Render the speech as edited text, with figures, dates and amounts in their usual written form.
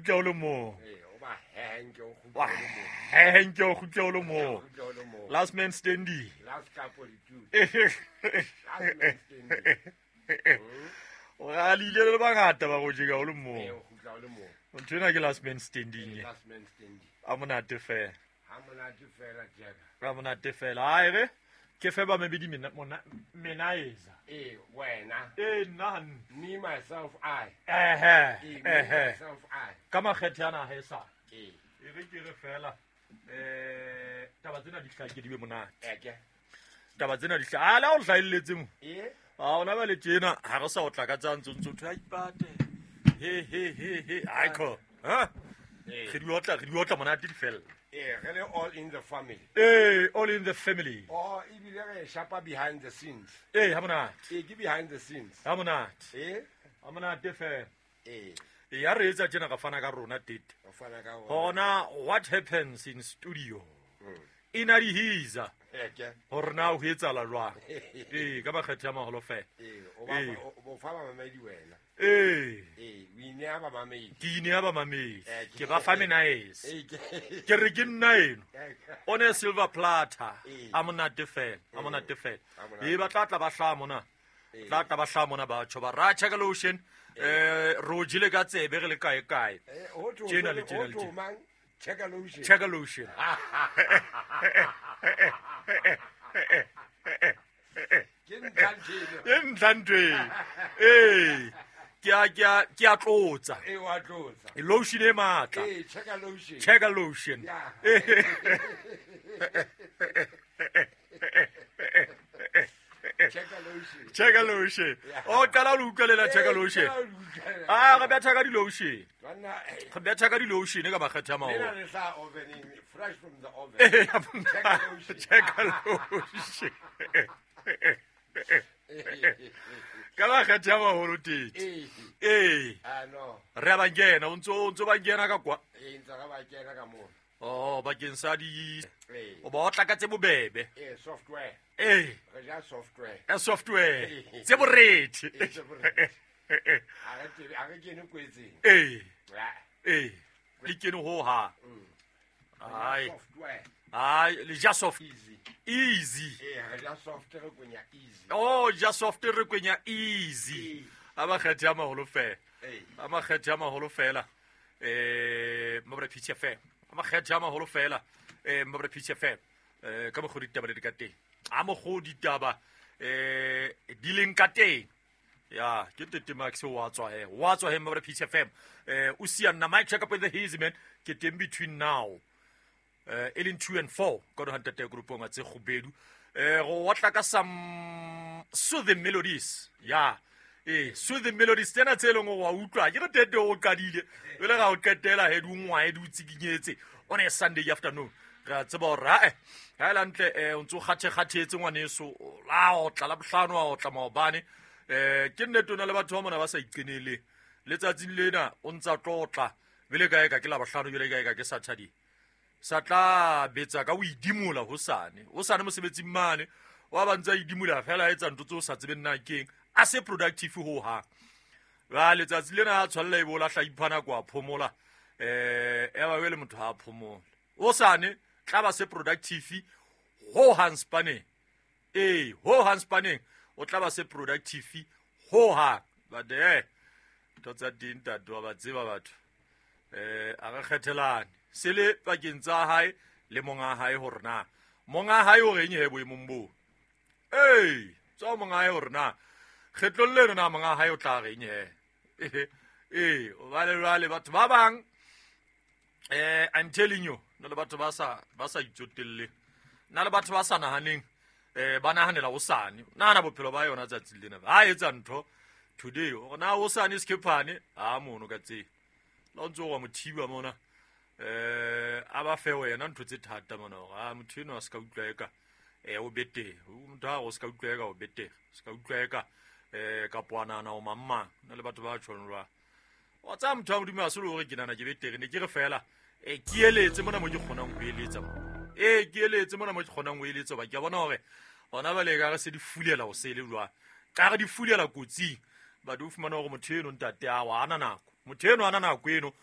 kgutla o le mong. Ee, o ba hehe nke o Wa kgutla o le mong. hehe nke o kgutla o le mong. Kgutla o le mong. Last man standing. Last cup of the two. Last man standing. O ralile le bangata ba go jeka o le Ee, mong. o kgutla o le mong. Ntho ena ke last man standing. Ee, last man standing. A monate fela. Ha monate fela Jeka. A monate fela. Ai re ke fe ba mebedi menaeza. Ee, wena. Ee, nna hantle. Me, myself, I. Ehe, Ee, me, ehe. myself, I. Ka makgethe ana ha e sa. Ee. E re ke re fela taba tsena di hlake di be monate. Eke. Taba tsena di hla. A la o hlahelletse mo. Ee. A ona ba le tjena ha re sa o tla ka tsa ntso ntso ntho ya ipate. He he he he. Aiko. Ha? Ee. Re di otla monate di fella. Ee, re le all in the family. Ee, all in the family. Oh, ebile re shapa behind the scenes. Ee, ha monate. Ee, ke behind the scenes. Ha monate. Ee. Ha monate fela. Ee. E ya re etsa tjena re fana ka rona tete. Re fana ka rona. Hona what happens in studio. Ina di hisa. Eke. Hore na ho etsahala jwang. Ee, ka makgethe a maholo fela. Ee, o ba Ee. o fa bamamedi wena. Ee. Ee, o ineha bamamedi. Ke ineha bamamedi. Eh, Ke ba fa menaese. Ee, ke Ke re ke nna eno. Eke. On a silver platter. Ee. A monate fela, a monate fela. A monate. Ee, ba tla tla ba hlaha mona. Ee. Tla tla ba hlaha mona batho ba ra check lotion. Re o jele ka tsebe re le kae kae. Eh, ho thwe- Tjena le tjena le ho thwe tjena. mang? Check a lotion. Check lotion. Ke ntlha ntho eno. E ntlha ntho e. Ee. Ke a tlotsa. Ee, wa tlotsa. Lotion e matla. Ee, check a lotion. Check lotion. Yeah. Check a lotion. Check lotion. O qala o utlwelela check lotion. Ee, qala o utlwelela. Ah, re betha ka di-lotion. Banna, eh, Re betha ka di-lotion ka makgethe a lena maholo. le hlaha oveneng, fresh from the oven. Ee, Check a lotion. Check lotion. Ka makgethe a maholo tete. Ee. Ee, Ah, no. re a ba kena, o ntso ba kena ka kwa. Ee, ntse re ba kena ka moo. Oh, bakeng sa di Ee. o ba otla ka tse bobebe. Ee, software. Ee, Re ja software. ya software. Tse borethe. Ee, tse borethe. Ha re tsebe- ha re kene kwetseng. Ee, Ah, ee, le kene ho hang. re ja Ai. software. Ai, le ja soft Easy. easy. Ee, re ja soft, re kwenya easy. Oh, ja soft re kwenya easy. Ee. A makgethe a maholo fela. Ee. A makgethe a maholo fela. Mabra Pitch FM. A makgethe a maholo fela. Mabra Pitch FM. Ka mokgwa ditaba le di ka teng. A mokgwa ditaba di leng ka teng. Ya, ke Tete Max wa tswa he. Wa tswa he Mabra Pitch FM. O siya nna mic check up with the hazy man. Ke teng between now. E leng 2 and 4 ka do hantate groupong tse kgubedu. Go otla ka some soothing melodies. Ya. Ee, soothing melodies tsena tse leng hore wa utlwa ke re tete o qadile jwale ga o qetela he di ngwae di o tsikinyetse on a Sunday afternoon. Re a tseba hore ae ha e le hantle o ntso kgathe-kgathetse ngwaneso la otla la bohlano wa otla maobane. Ke nnete o na le batho ba mona ba sa iqeneleng letsatsing lena o ntsa tlotla bele kae ka ke la bohlano jwale kae ka ke Saturday sa tla betsa ka o idimola hosane hosane mosebetsing mane wa ba ntse a idimola fela a etsa ntho tse o sa tsebeng na keng a se productive ho hang. Ba letsatsi lena a tshwanela e be o lahla ipha nako a phomola e ba le motho ha a phomola hosane tla ba se productive ho hang spaneng. Ee, ho hang spaneng o tla ba se productive ho hang. But ntho tsa teng ntate wa ba tseba batho. A re kgethelane se le pakeng tsa hae le monga hae hore na monga hae o reng he boemong boo. Ee, tswa monga hae hore na kgetlong leno na monga hae o tla reng he. Ee, hobane jwale batho ba bang I'm telling you, na le batho ba sa itsotelleng, na le batho ba sa nahaneng, ba nahanela hosane. Nahana bophelo ba yona tsatsing lena. Ha etsa ntho today, hore na hosane sekephane, ha mono ka tsela. La o ntso wa mo thiba mona. A ba fe wena ntho tse thata mona hore a motho eno a ska utlwa eka o betere. Motho ha o ska utlwa eka o betere. Ska utlwa eka kapo a nahana o mang mang. Na le batho ba tjhong jwang. Wa tsaya motho wa Modimo a se le hore ke nahana ke betere, ne ke re fela ke eletse mona mo ke kgonang ho eletsa mo. Ke eletse mona mo ke kgonang ho eletsa hoba ke a bona hore hona jwale ekare se di fulela ho sele jwang. Ka re di fulela kotsing. But o fumana hore motho eno ntate a wa ana nako. Motho eno ana nako eno